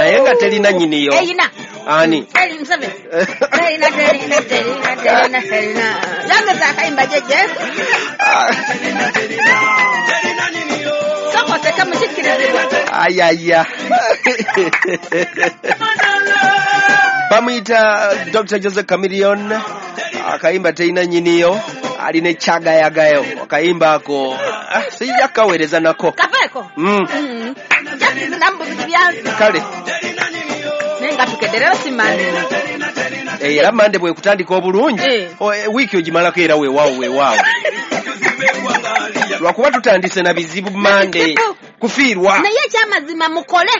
Naye nga terina nnyiniyo. Eyina. Ani? Eri Museveni. Terina, terina, terina, terina, terina. Yongeza akayimba jjajja. Sooka oseke mukikkirizibwa. Ayaya. Bamuyita Dr. Jose Chameleone, akayimba terina nnyiniyo, alina ekyagayagayo akayimba ako sijja kukaweereza nako. Kaveeko. Jasinambuzi byansi. Kale. Naye nga tukedde leero si Mande. Era Mande bwekutandika obulungi, wiiki ogimalako era weewaawo weewaawo. Lwakuba tutandise na bizibu Mande kufiirwa. Naye ekyamazima mukole.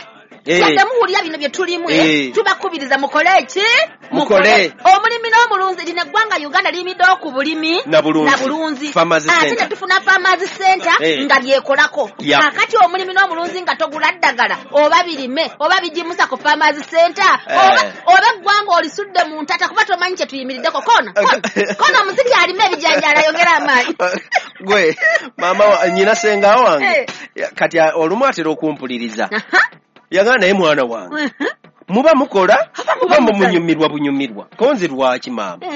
Yadde muwulira bino bye tulimu, tubakubiriza mukole ki? Mukole. Omulimi n'omulunzi, lino eggwanga Uganda liyimiddeo ku bulimi na bulunzi. Ate ne tufuna Farmers Center nga byekolako. Kaakati omulimi n'omulunzi nga togula ddagala oba birime oba bigimusa ku Farmers Center oba eggwanga olisudde mu ntata kuba tomanyi kye tuyimiriddeko. Kona kona omuziki alime ebijanjaalo ayongere amaanyi. Gwe maama nnyina ssenga wange kati olumu atera okumpuliriza. Yagamba naye mwana wange muba mukola oba munyumirwa bunyumirwa konze lwaki maama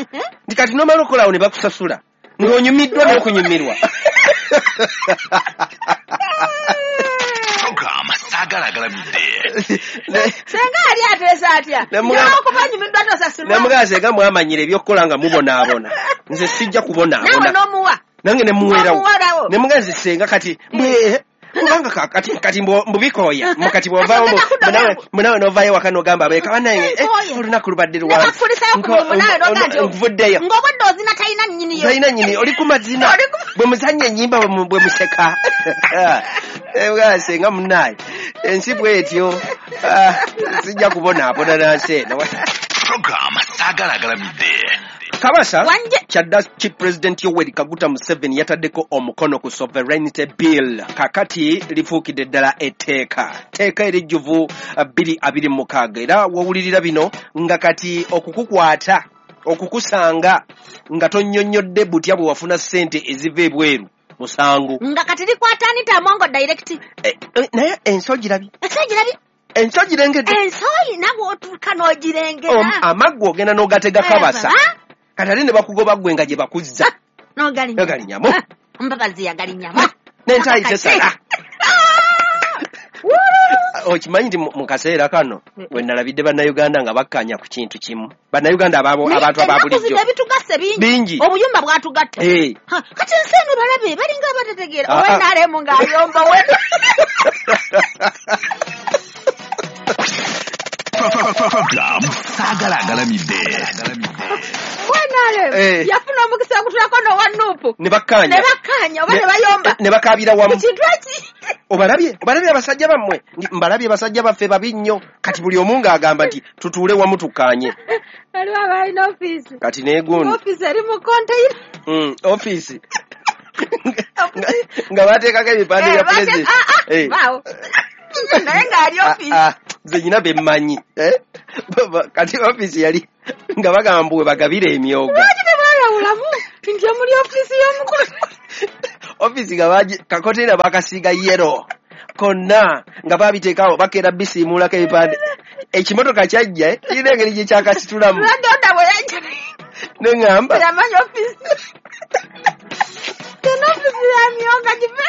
nti kati nomala okolawo ne bakusasula ng'onyumiddwa n'okunyumirwa. Senga ali ateesa atya? Okuba nyumiddwa tosasulwa. Nemugamba senga mwamanyire ebyokukola nga mubonaabona, nze sijja kubonaabona. Naawe n'omuwa. Nange ne muweerawo. Nemugamba nze senga kati kubanga kati mbubikoya mukati bw'ovaawo munawe n'ovaayo waka n'ogamba abeeka bannange olunaku lubadde lwanvuddeyo ng'obwedde ozina talina nnyiniyo, talina nnyini, oli ku mazina bwe muzannya ennyimba bwe museka. Senga munnaye ensi bw'etyo, sijja kubonaabona nansi eno. Kabasa kyadda ki President Yoweri Kaguta Museveni yataddeko omukono ku Sovereignty Bill, kakati lifuukidde ddala etteeka, tteeka erijjuvu 2026. Era wowulirira bino nga kati okukukwata okukusanga nga tonnyonnyodde butya bwe wafuna ssente eziva ebweru musango. Nga kati likwata Anita Amongo direct. Naye ensi ogirabye? Ensi ogirabye? Ensi ogirengedde? Ensi oyina bw'otuuka n'ogirengera. Amaggwa ogenda n'ogatega Kabasa. Kati ate ne bakugoba ggwe nga gye bakuzza. N'ogalinyamu. Mbabazi yagalinyamu. N'entaayi tesala. Okimanyi nti mu kaseera kano we nalabidde Bannayuganda nga bakkaanya ku kintu kimu. Bannayuganda abantu aba bulijjo. Ebitugasse bingi. Obuyumba bwatugatta. Kati ensi eno balabe balinga abatategeera. Owe NRM ng'ayomba we. Yafuna omukisa ogutulako n'owa Nuupu. Ne bakkaanya. Ne bakkaanya oba ne bayomba. Ne bakaabira wamu. Ku kintu eki. Obalabye abasajja bammwe. Mbalabye abasajja baffe babi nnyo. Kati buli omu ng'agamba nti tutuule wamu tukkaanye. Waliwo abalina ofiisi. Kati n'egundi. Ofiisi eri mu konteyina. Ofiisi. Nga bateekako ebipande bya pulezidenti. Baawo. Naye ng'ali ofiisi. Nze nyina be mmanyi. Kati ofiisi yali nga bagamba mbu we bagabira emyoga. Lwaki tebayawulamu nti omuli ofiisi y'omukulu? Ofiisi nga kakonteyina bakasiiga yero konna nga babiteekawo bakeera bisiimuulako ebipande. Ekimotoka kyajja kirina engeri gye kyakasitulamu. Lwadonda bwe yajja. Ne ŋŋamba. Yamanyi ofiisi. Eno ofiisi ya myoga give.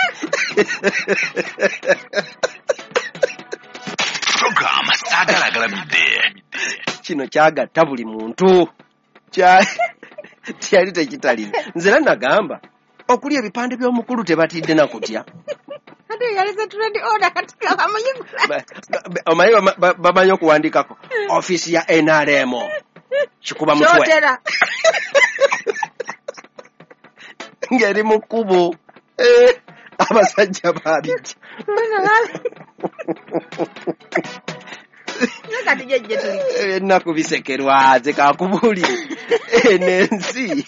Kino kyagatta buli muntu. Kyali tekitalina. Nze era nagamba okuli ebipande by'omukulu tebatidde na kutya. Ate yalese trade order kati bamuyigula. Omanyi bamanyi okuwandikako ofiisi ya NRM kikuba mutwe. Kyotera. Ng'eri mu kkubo. Abasajja baabijja. Kati jjajja tuli. Ennaku bisekerwa nze kakubuulire. Eno ensi.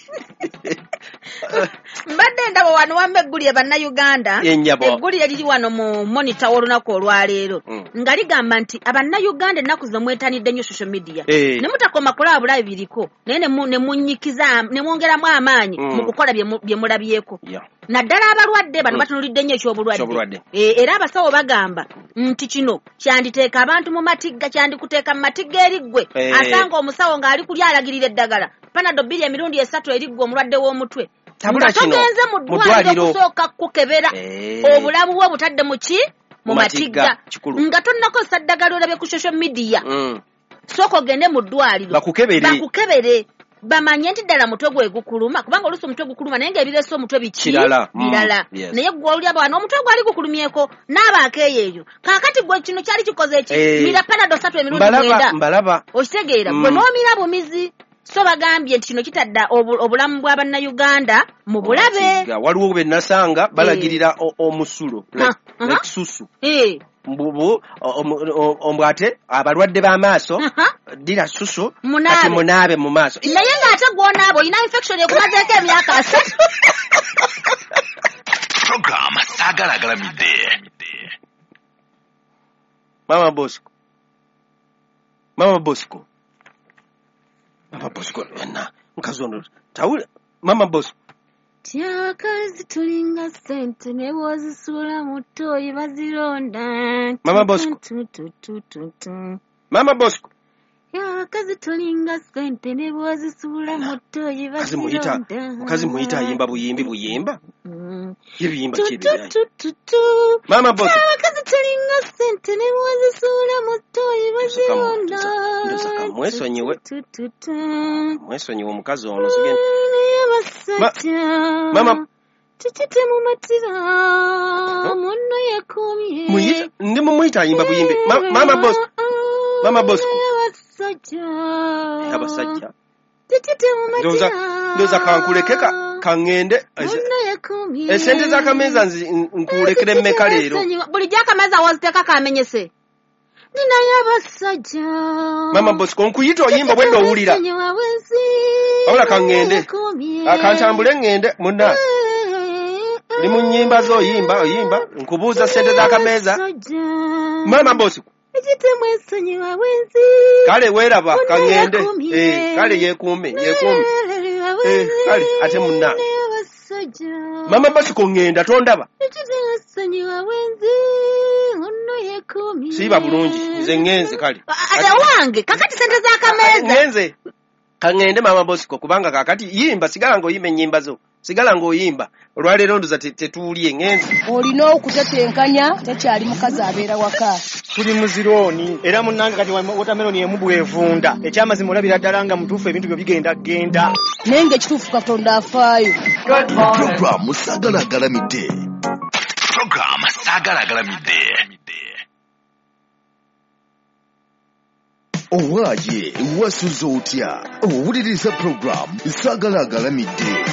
Mbadde ndaba wano wamma eggulire Bannayuganda. Eggulire liri wano mu Monitor w'olunaku olwaleero. Nga ligamba nti abannayuganda ennaku zino mwetanidde nnyo social media. Ne mutakoma kulaba bulabi biriko, naye ne munyikiza ne mwongeramu amaanyi mu kukola bye mulabyeko. Naddala abalwadde bano batunulidde nnyo eky'obulwadde. Era abasawo bagamba nti kino kyanditeeka abantu mu matigga, kyandikuteeka mu matigga eri ggwe. Asanga omusawo ng'ali kulya alagirira eddagala Panadol 2 emirundi 3 eri ggwe omulwadde w'omutwe. Tabula kino togenze mu ddwaliro okusooka kukebera obulamu bwo butadde mu ki? Mu matigga. Nga tonnakozesa ddagala olabye ku social media. Sooka ogende mu ddwaliro bakukebere bamanye nti ddala mutwe gwe gukuluma, kubanga oluusi omutwe gukuluma naye ng'ebireese omutwe biki? Birala. Naye gwe oli abo omutwe gwali gukulumyeko n'abaako eyo. Kaakati gwe kino kyali kikoze ki? Mira Panadol 3 emirundi 9. Mbalaba. Okitegeera gwe n'omira bumizi. So bagambye nti kino kitadda obulamu bwa bannayuganda mu bulabe. Waliwo be nasanga balagirira omusulo like susu. Mbubu ombwate abalwadde b'amaaso dira susu kati munaabe mu maaso. Naye ng'ate gw'onaaba olina infection ekumazeeko emyaka 3. Program Saagala Agalamidde. Mama Bosco. Mama Bosco. Mama Bosco enna mukazi ono tawule. Mama Bosco. Abakazi tulinga ssente ne bw'ozisuula mu ttooyi bazironda. Mama Bosco. Mama Bosco. Abakazi tulinga ssente ne bw'ozisuula mu ttooyi bazironda. Mukazi muyita ayimba buyimbi buyimba. Ye biyimba ki ebyo? Mama Bosco. Abakazi tulinga ssente ne bw'ozisuula mu ttooyi bazironda. Ndoza mwesonyiwe. Mwesonyiwe omukazi ono sigenda. Mama Kiki temumatira munno yekumye. Muyita ndi mumuyita ayimba buyimbi. Mama Bosco. Mama Bosco. Abasajja. Abasajja. Kiki temumatira. Ndoza kankuleke kangende. Munno yekumye. Esente z'akameza nkulekere mmeka leero. Bulijjo akameza waziteeka kamenyese. Ninayo abasajja. Mama Bosco nkuyita oyimba bwedde owulira. Wabula kangende. Akantambule ngende munna. Ndi mu nnyimba zo oyimba oyimba nkubuuza ssente z'akameeza. Mama Bosco. Kale weeraba kangende. Kale yeekuume yeekuume. Kale ate munna. Mama Bosco ngenda tondaba. Siiba bulungi nze ngenze kale. Ate wange kakati ssente z'akameeza. Ngenze. Kangende Mama Bosco kubanga kakati yimba sigala ng'oyimba ennyimba zo. Sigala ng'oyimba olwaleero ndoza tetuulye ngenze. Olina okutetenkanya tekyali mukazi abeera waka. Tuli muzirooni era munnange kati watermelon emu bw'evunda. Ekyamazima olabira ddala nga mutuufu ebintu byo bigenda genda. Naye ng'ekituufu Katonda afaayo. Program Saagala Agalamidde. Program Saagala Agalamidde. Owaaye wasuze otya? Owuliriza program Saagala Agalamidde.